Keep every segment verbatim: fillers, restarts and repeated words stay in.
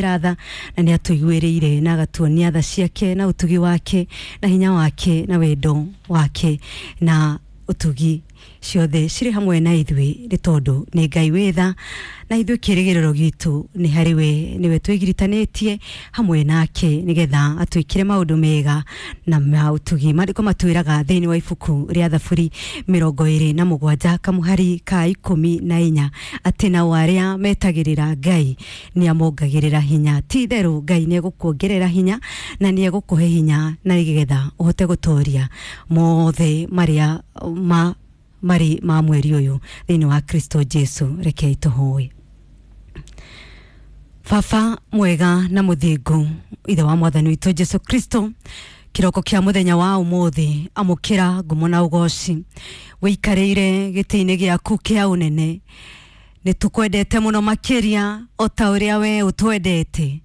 Tha na nä atåiguä na agatuonia tha ciake na utugi wake na hinya wake na wendo wake na utugi ciothe cirĩ hamwe na ithuĩ, nĩ tondũ nĩ Ngai wĩ tha na ithuĩ kĩrĩgĩrĩro gitũ nĩ harĩ we. Nĩwe twĩgiritanĩtie hamwe nake nĩgetha atwĩkĩre maũndũ mega na ma ũtugi. Maandĩko matwĩraga thĩinĩ wa ibuku rĩa Thaburi mĩrongo ĩrĩ na mũgwanja kamũhari ka ikũmi na inya atĩ nao arĩa metagĩrĩra Ngai nĩ amongagĩrĩra hinya. Ti itherũ Ngai nĩ egũkuongerera hinya na nĩ egũkũhe hinya na nĩgetha ũhote gũtoria mothe marĩa ma marĩ ma mweri ũyũ thĩinĩ wa Kristo Jesu. Rekei tũhoe. Baba mwega na mũthingu, ithe wa mwathani witũ Jesu Kristo, kĩroko kĩa mũthenya wa ũmũthĩ, amũkĩra ngumo na ũgoci. Wĩikarĩire gĩtĩ-inĩ gĩaku kĩa ũnene, nĩ tũkwendete mũno makĩria o ta ũrĩa we ũtwendete.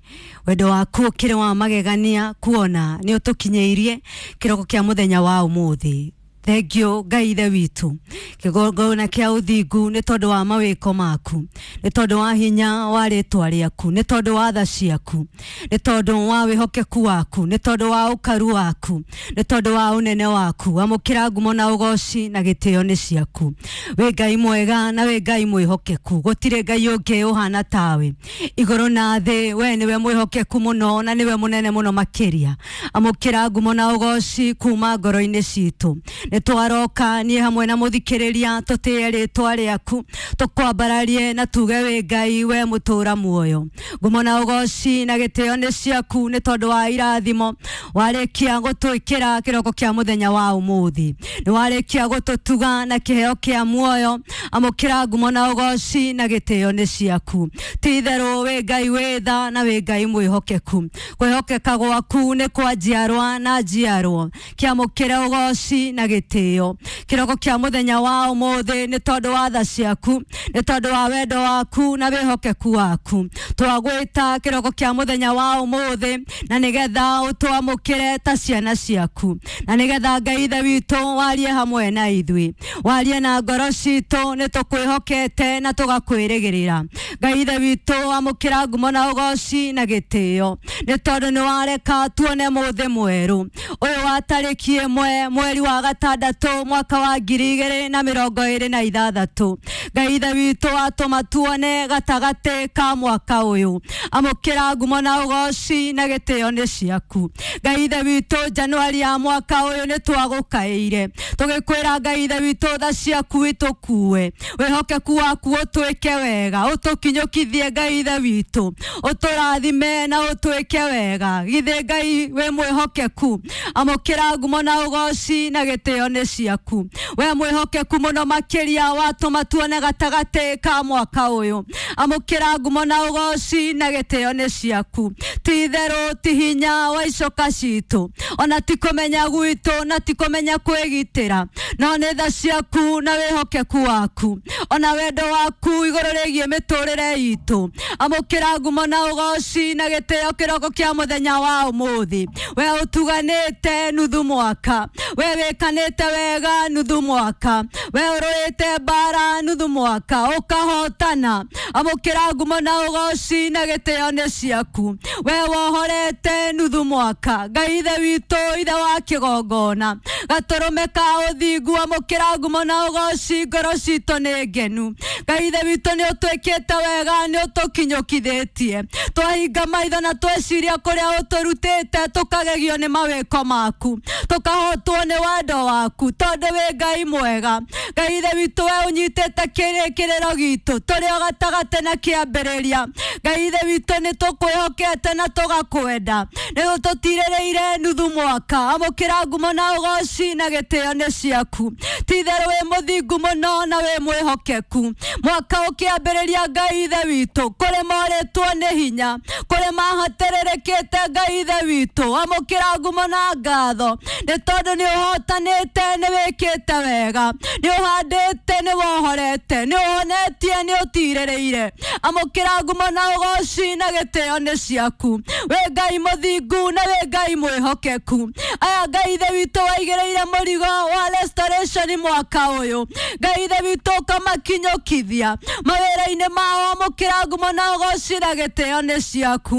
Wendo waku ũkĩrĩ wa magegania, kuona nĩ ũtũkinyĩirie kĩroko kĩa mũthenya wa ũmũthĩ. Thengio Ngai ithe witũ, kĩgongona kĩa ũthingu, nĩ tondũ wa mawĩko maku, nĩ tondũ wa hinya wa rĩtwa rĩaku, nĩ tondũ wa tha ciaku, nĩ tondũ wa wĩhokeku waku, nĩ tondũ wa ũkaru waku, nĩ tondũ wa ũnene waku. Amũkĩra ngumo na ũgoci na gĩtĩo nĩ ciaku. Wĩ Ngai mwega na wĩ Ngai mwĩhokeku, gũtirĩ Ngai ũngĩ ũhana tawe igũrũ na thĩ. We nĩwe mwĩhokeku mũno na nĩwe mũnene mũno makĩria. Amũkĩra ngumo na ũgoci kuma ngoro-inĩ citũ. Nĩ twaroka niĩ hamwe na mũthikĩrĩria tũtĩe rĩtwa rĩaku, tũkwambararie na tuge wĩ Ngai, we mũtũra muoyo. Ngumo na ũgoci na gĩtĩo nĩ ciaku, nĩ tondũ wa irathimo warĩkia gũtwĩkĩra kĩroko kĩa mũthenya wa ũmũthĩ, nĩ warĩkia gũtũtuga na kĩheo kĩa muoyo. Amũkĩra ngumo na ũgoci na gĩtĩo nĩ ciaku. Ti itherũ wĩ Ngai wĩ tha na wĩ Ngai mwĩhokeku. Kwĩhokeka gwaku nĩ kwa njiarwa na njiarwa. Kĩamũkĩre ũgoci na gĩtĩo kĩroko kĩa mũthenya wa ũmũthĩ, nĩ tondũ wa tha ciaku, nĩ tondũ wa wendo waku na wĩhokeku waku. Twagwĩta kĩroko kĩa mũthenya wa ũmũthĩ na nĩgetha ũtwamũkĩre ta ciana ciaku, na nĩgetha Ngai ithe witũ warie hamwe na ithuĩ, warie na ngoro citũ. Nĩ tũkwĩhokete na tũgakwĩrĩgĩrĩra. Ngai ithe witũ, amũkĩra ngumo na ũgoci na gĩtĩo, nĩ tondũ nĩ wareka tuone mũthĩ mwerũ ũyũ wa tarĩki ĩmwe mweri wa gatandatũ mwaka wa ngiri igĩrĩ na mĩrongo ĩrĩ na ithathatũ. Ngai ithe witũ, atũma tuone gatagatĩ ka mwaka ũyũ. Amũkĩra ngumo na ũgoci na gĩtĩo nĩ ciaku. Ngai ithe witũ, Januari ya mwaka ũyũ nĩ twagũkaĩire tũgĩkwĩra, Ngai ithe witũ, tha ciaku itũkue, wĩhokeku waku ũtwĩke wega, ũtũkinyũkithie. Ngai ithe witũ, ũtũrathime na ũtwĩke wega. Githĩ Ngai wĩ mwĩhokeku? Amũkĩra ngumo na ũgoci na gĩtĩo nĩ ciaku. We mwĩhokeku mũno makĩria, watũma tuone gatagatĩ ka mwaka ũyũ. Amũkĩra ngumo na ũgoci na gĩtĩo nĩ ciaku. Ti itherũ ti hinya wa icoka citũ, ona ti kũmenya gwitũ, na ti kũmenya kwĩgitĩra, no nĩ tha ciaku na wĩhokeku waku, ona wendo waku igũrũ rĩgiĩ mĩtũrĩre itũ. Amũkĩra ngumo na ũgoci na gĩtĩo kĩroko kĩa mũthenya wa ũmũthĩ. We ũtuganĩte nuthu mwaka, we wĩkanĩte wega nuthu mwaka, we ũrũĩte mbara nuthu mwaka ũkahotana. Amũkĩra ngumo na ũgoci na gĩtĩo nĩ ciaku. We wohorete nuthu mwaka, Ngai ithe witũ, ithe wa kĩgongona, gatũrũme ka ũthingu. Amũkĩra ngumo na ũgoci, ngoro citũ nĩ ngenu. Ngai ithe witũ, nĩ ũtwĩkĩte wega, nĩ ũtũkinyũkithĩtie. Twahinga maitho na tweciria kũrĩa ũtũrutĩte, tũkagegio nĩ mawĩko maku, tũkahotwo nĩ wendo waku, tondũ wĩ Ngai mwega. Ngai ithe witũ, we ũnyitĩte kĩrĩkĩrĩro gitũ tũrĩ o gatagatĩ na kĩambĩrĩria. Ngai ithe witũ, nĩ tũkwĩhokete na tũgakwenda, nĩ ũtũtirĩrĩire nuthu mwaka. Amũkĩra ngumo na ũgoci na gĩtĩo nĩ ciaku. Ti itherũ wĩ mũthingu mũno na wĩ mwĩhokeku. Mwaka ũkĩambĩrĩria, Ngai ithe witũ, kũrĩ morĩtwo nĩ hinya, kũrĩ mahatĩrĩrĩkĩte. Ngai ithe witũ, amũkĩra ngumo na ngatho, nĩ tondũ nĩ ũhotanĩte, nĩ wĩkĩte wega, nĩ ũhandĩte, nĩ wohorete, nĩ ũhonetie, nĩ ũtirĩrĩire. Amũkĩra ngumo na ũgoci na gĩtĩo nĩ ciaku. Wĩ Ngai mũthingu na wĩ Ngai mwĩhokeku. Aya Ngai ithe witũ waigĩrĩire mũrigo wa restoration mwaka ũyũ, Ngai ithe witũ ũkamakinyũkithia mawĩra-inĩ mao. Amũkĩra ngumo na ũgoci na gĩtĩo nĩ ciaku.